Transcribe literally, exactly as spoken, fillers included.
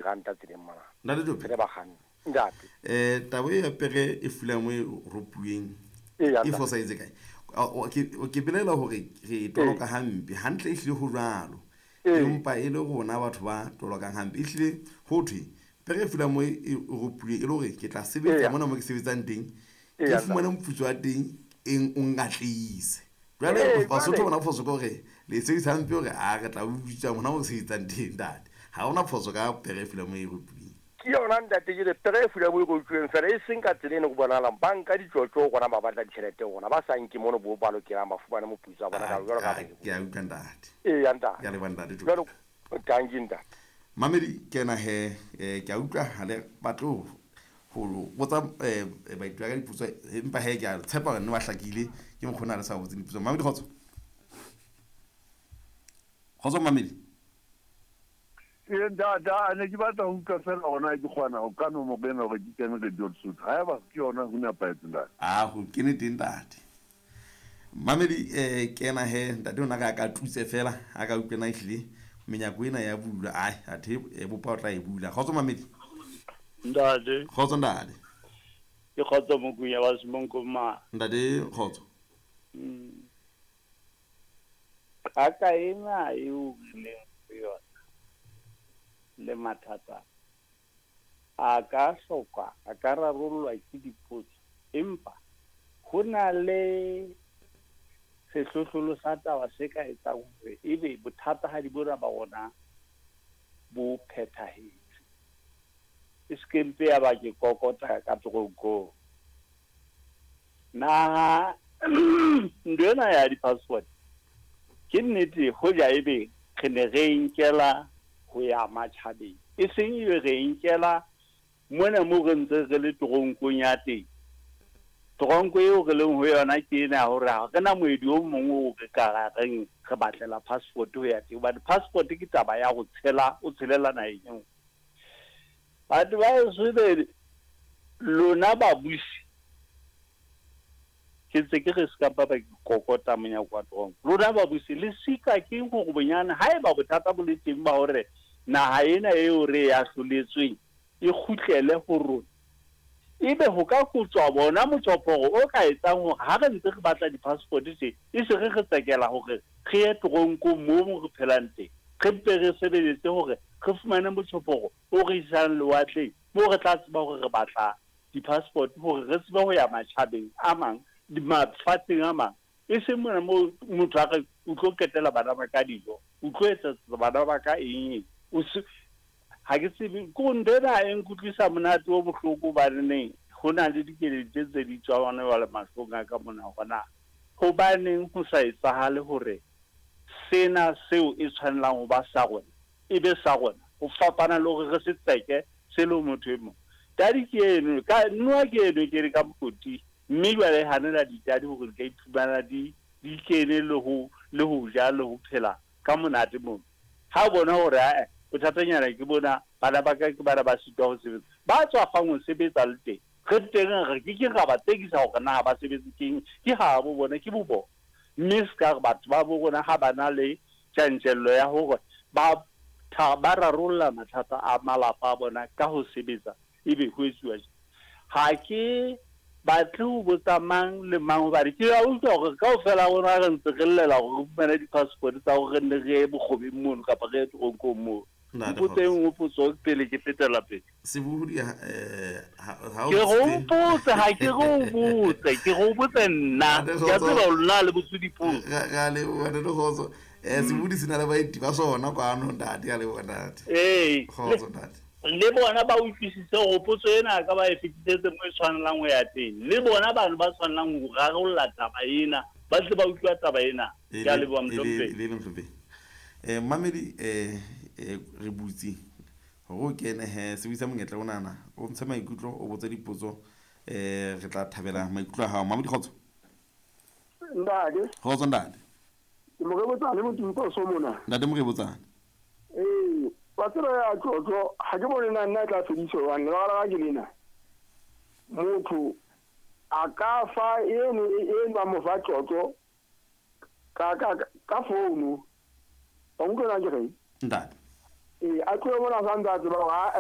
Ranta tseleng mona. Ntate Jope. Re bakganni. Ntate. Eh taba e ya pere e fulang mo e ropuweng. E fosahetse kae? O ke belela hore re toloka hampe hantle e hlile ho jwalo. Empa e le rona batho ba tolokang hampe e hlile ho thwe pere e fulang mo e ropuweng e le hore ke tla sebetsa mona mo ke sebetsang teng ke fumane moputso wa teng eng o ngatleise. Jwale Basotho bona phoso ke hore le sebedisa hampe hore a re tla utswa mona mo sebetsang teng ntate. Ha hona phoso ka pere e fulang mo e ropuweng. Ke yona ntate ke re pere e fulang mo e ropuweng fela e seng ka tsela eno go bonahalang ba nka ditjotjo rona ba batla ditjhelete rona ba sa nke mono bo ba lokelang ba fumane moputso wa bona ka jwalo ka ke a utlwa ntate. Ee ya ntate. Ke a leboha ntate. Jwalo thank you ntate. Mamedi kena he ke a utlwa ha le batle ho botsa baithuti ka dipotso empa he ke a tshepa hore nne ba hlakile ke mokgona re sa botse dipotso. Mamedi kgotso. Kgotso Mamedi. Ee ntate a ne ke batla ho utlwa fela hona ke kgona ho ka nomoro ena hore ke kene Radio Lesotho. Haeba ke yona ho nepahetse ntate. Ah ho kene teng ntate. Mamedi eh kena he ntate ona ka ka thuse fela a ka utlwena ehlile menyako ena ya bulwa ai athe e bopa o tla e bula. Kgotso Mamedi. Ntate. Kgotso ntate. Ke kgotso Mokunya wa Semonko ma. Ntate kgotso. Mm. Qaka ena eo re leng ho yona le mathata a ka hloka a ka rarollwa ke dipotso empa ho na le sehlohlolo sa taba se ka etsang hore ebe bothata ha di bona ba rona bo phethahetse. E se ke mpe ya ba ke kokota ka toronkong. Naha ntho ena ya di-passport ke nnete hoja ebe re ne re nkela ho ya matjhabeng e seng ebe re nkela mona mo re ntse re le toronkong ya teng. Toronko eo re leng ho yona ke ena hore ha re na moedi o mong o re ka ra reng re batlela passport ho ya teng hobane passport ke taba ya ho tshela o tshelela naheng e nngwe. Batho ba heso be lona babusi ke ntse ke re se ka ba ba kokota monyako wa toronko. Lona babusi le sitwa ke hore bonyane haeba bothata bo le teng ba hore naha ena eo re e ahloletsweng e kgutlele ho rona ebe ho ka kotswa bona motjhophoro o ka etsang hore ha re ntse re batla di-passport tje e se re re tsekela hore re ye toronkong moo re phelang teng re mpe re sebeletse hore re fumane motjhophoro o re isang lewatleng moo re tla tseba hore re batla di-passport hore re tsebe ho ya matjhabeng a mang mafatsheng a mang e seng mona moo motho a re o tlo qetela bana ba ka dijo o tlo etsetsa bana ba ka eng o se ha ke tsebe ko ntho ena e nkutlwisa monate o bohloko hobaneneng ho na le dikeledi tse tse di tswang hona jwale mahlong a ka mona hore na hobaneng ho sa etsahale hore sena seo e tshwanelang ho ba sa rona e be sa rona ho fapana le hore re se tseke se le motho e mong. Tadi ke eno ka noa ke eno ke re ka mokoti mme jwale hanela ditadi hore di ka iphumana di di kene le ho le ho ja le ho phela ka monate mono. Ha o bona hore ae bothatanyana ke bona bana ba ka ke bana ba sitwa ho sebetsa ba tswafang ho sebetsa le teng re teng re ke ke ra ba tsekisa hore na ba sebetse keng ke ha bo bona ke bo bona mme se ka re batho ba bo rona ha ba na le tjantjello ya hore ba ba rarolla mathata a malapa a bona ka ho sebetsa ebe ho etsuwa jwang. Ha ke batle ho botsa mang le mang hobane ke a utlwa hore kaofela rona re ntse re llela hore re fumane di-passport tsa hore re nne re ye bokgobeng mono kapa re ye toronkong mono. Mpotse e nngwe potso pele ke fetela pele. Sebohodi eh ha Ke re o mpotse ha ke re o botse ke re o botse nna ke a tseba hore lona le botse dipotso. Ra leboha ntate Kgotso. Eh sebohodi se na le baeti ba sona kwano ntate a leboha ntate. Ee Kgotso ntate. Le bona ba utlwisise hore potso ena ka ba e fetisetse mo e tshwanelang ho ya teng le bona bano ba tshwanelang ho rarolla taba ena ba tle ba utlwa taba ena. Ke a leboha mohlomphehi. Le mohlomphehi. Eh mamedi eh re butse hore o kene he sebedisa monyetla onana o ntshe maikutlo o botse dipotso eh re tla thabela maikutlo a hao. Mamedi kgotso. Ntate. Kgotso ntate. Ke Morebotsane Motumpo so mona. Ntate Morebotsane. Eh wa tseba ya tlotlo ha ke bone nna nna tla fediswa hobane lebaka la ka ke lena. Motho a ka fa eno eno ba mo fa tlotlo ka ka ka founu. Wa utlwa na ke reng? Ntate. Ee, a tlohe mona a sa ntse a tseba hore.